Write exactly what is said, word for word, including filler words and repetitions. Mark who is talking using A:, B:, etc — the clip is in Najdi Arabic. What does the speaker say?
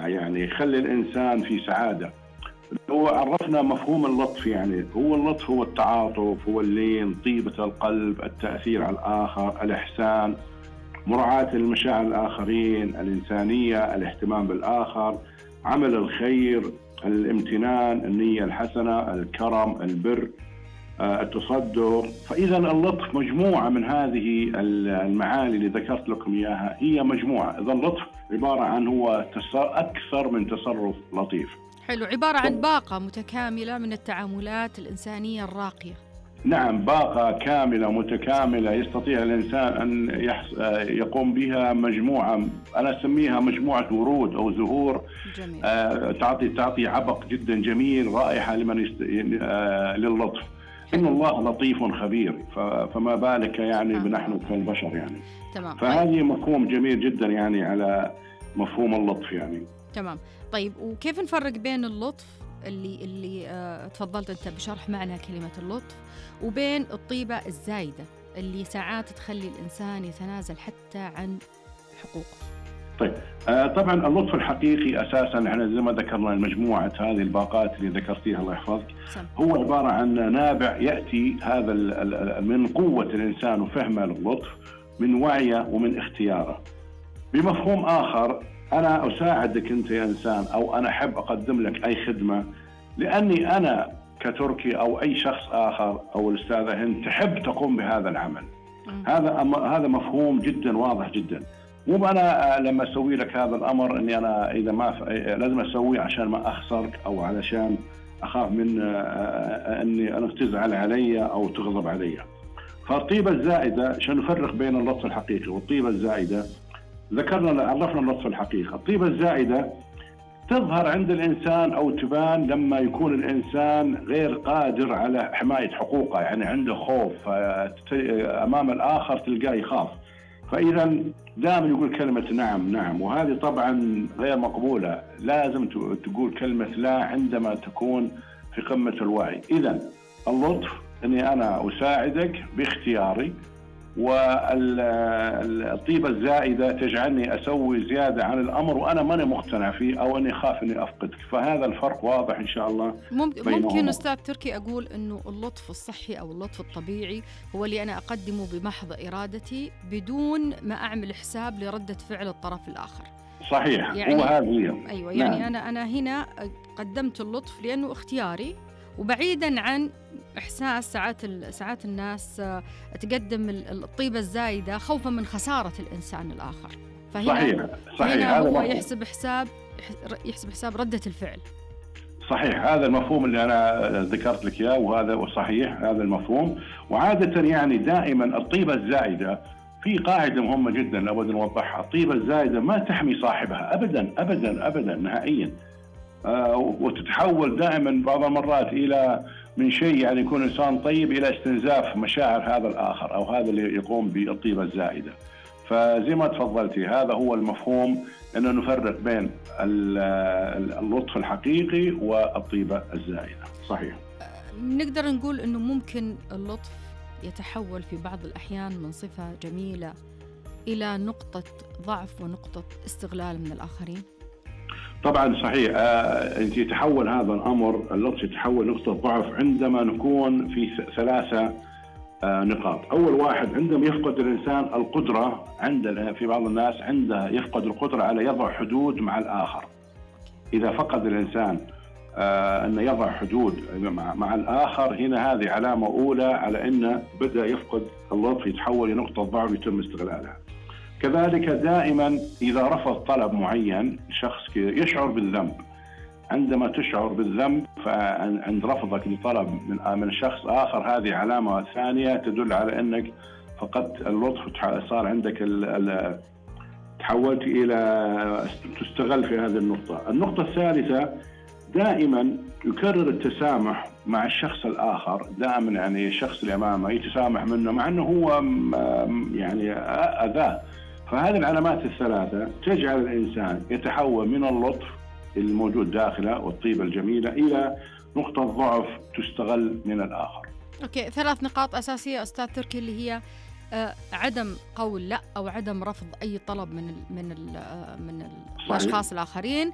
A: رائع، يعني يخلي الإنسان في سعادة. هو عرفنا مفهوم اللطف، يعني هو اللطف هو التعاطف، هو اللين، طيبة القلب، التأثير على الآخر، الإحسان، مراعاة المشاعر الآخرين، الإنسانية، الاهتمام بالآخر، عمل الخير، الامتنان، النية الحسنة، الكرم، البر، آه، التصدق. فإذا اللطف مجموعة من هذه المعاني اللي ذكرت لكم إياها، هي مجموعة. إذا اللطف عبارة عن هو أكثر من تصرف لطيف.
B: حلو، عبارة عن باقة متكاملة من التعاملات الإنسانية الراقية.
A: نعم، باقة كاملة متكاملة يستطيع الإنسان أن يقوم بها مجموعة، أنا أسميها مجموعة ورود أو زهور.
B: جميل.
A: تعطي تعطي عبق جدا جميل، رائحة لمن يست... للطف. إن الله لطيف خبير، فما بالك يعني بنحن كالبشر يعني.
B: تمام.
A: فهذه مفهوم جميل جدا يعني على مفهوم اللطف يعني.
B: تمام. طيب، وكيف نفرق بين اللطف اللي اللي آه تفضلت أنت بشرح معنى كلمة اللطف، وبين الطيبة الزايدة اللي ساعات تخلي الإنسان يتنازل حتى عن حقوقه؟
A: طيب، آه طبعا اللطف الحقيقي أساسا احنا زي ما ذكرنا المجموعة هذه الباقات اللي ذكرتيها الله يحفظك، هو عبارة عن نابع يأتي هذا من قوة الإنسان وفهمه للطف، من وعيه ومن اختياره. بمفهوم آخر، أنا أساعدك أنت يا إنسان، أو أنا أحب أقدم لك أي خدمة لأني أنا كتركي أو أي شخص آخر أو الأستاذة هند تحب تقوم بهذا العمل. م. هذا هذا مفهوم جدا واضح جدا. مو أنا لما أسوي لك هذا الأمر أني أنا إذا ما ف... لازم أسويه عشان ما أخسرك أو علشان أخاف من أني أنا تزعل علي أو تغضب علي. فالطيبة الزائدة، عشان نفرق بين اللطف الحقيقي والطيبة الزائدة، ذكرنا عرفنا اللطف الحقيقي. الطيبة الزائدة تظهر عند الإنسان أو تبان لما يكون الإنسان غير قادر على حماية حقوقه، يعني عنده خوف أمام الآخر تلقاه يخاف، فإذا دائما يقول كلمة نعم نعم، وهذه طبعا غير مقبولة. لازم تقول كلمة لا عندما تكون في قمة الوعي. إذا اللطف أني أنا أساعدك باختياري، والطيبة الزائدة تجعلني أسوي زيادة عن الأمر وأنا ماني مقتنع فيه أو أني خاف أني أفقدك. فهذا الفرق واضح إن شاء الله.
B: ممكن أستاذ تركي أقول أنه اللطف الصحي أو اللطف الطبيعي هو اللي أنا أقدمه بمحض إرادتي بدون ما أعمل حساب لردة فعل الطرف الآخر.
A: صحيح،
B: يعني
A: وهذه
B: أيوة يعني نعم. أنا أنا هنا قدمت اللطف لأنه اختياري، وبعيدا عن إحساس ساعات ساعات الناس تقدم الطيبة الزايدة خوفا من خسارة الإنسان الآخر. فهنا
A: صحيح. صحيح.
B: هنا
A: هذا
B: هو
A: مفهوم.
B: يحسب حساب يحسب حساب ردة الفعل.
A: صحيح، هذا المفهوم اللي أنا ذكرت لك إياه، وهذا صحيح هذا المفهوم. وعادة يعني دائما الطيبة الزائدة في قاعدة مهمة جدا لابد نوضحها. الطيبة الزائدة ما تحمي صاحبها أبدا أبدا أبدا نهائيا، آه وتتحول دائما بعض المرات إلى من شيء يعني يكون إنسان طيب إلى استنزاف مشاعر هذا الآخر أو هذا اللي يقوم بالطيبة الزائدة. فزي ما تفضلتي هذا هو المفهوم، أنه نفرق بين اللطف الحقيقي والطيبة الزائدة. صحيح.
B: نقدر نقول أنه ممكن اللطف يتحول في بعض الأحيان من صفة جميلة إلى نقطة ضعف ونقطة استغلال من الآخرين.
A: طبعا صحيح. آه، يتحول هذا الأمر اللطف يتحول نقطة ضعف عندما نكون في ثلاثة آه نقاط. أول واحد، عندما يفقد الإنسان القدرة، عند في بعض الناس عنده يفقد القدرة على يضع حدود مع الآخر. إذا فقد الإنسان آه أن يضع حدود مع, مع الآخر، هنا هذه علامة أولى على أنه بدأ يفقد اللطف، يتحول لنقطة ضعف يتم استغلالها. كذلك دائما إذا رفض طلب معين شخص يشعر بالذنب. عندما تشعر بالذنب فعند رفضك لطلب من من شخص آخر، هذه علامة ثانية تدل على أنك فقدت اللطف، صار عندك ال ال تحولت إلى تستغل في هذه النقطة. النقطة الثالثة، دائما يكرر التسامح مع الشخص الآخر. دائما يعني الشخص اللي أمامه يتسامح منه مع أنه هو يعني أذاه. فهذه العلامات الثلاثة تجعل الإنسان يتحول من اللطف الموجود داخله والطيبة الجميلة إلى نقطة ضعف تستغل من الآخر.
B: أوكي، ثلاث نقاط أساسية أستاذ تركي، اللي هي آه عدم قول لا أو عدم رفض أي طلب من ال من ال من الأشخاص الآخرين.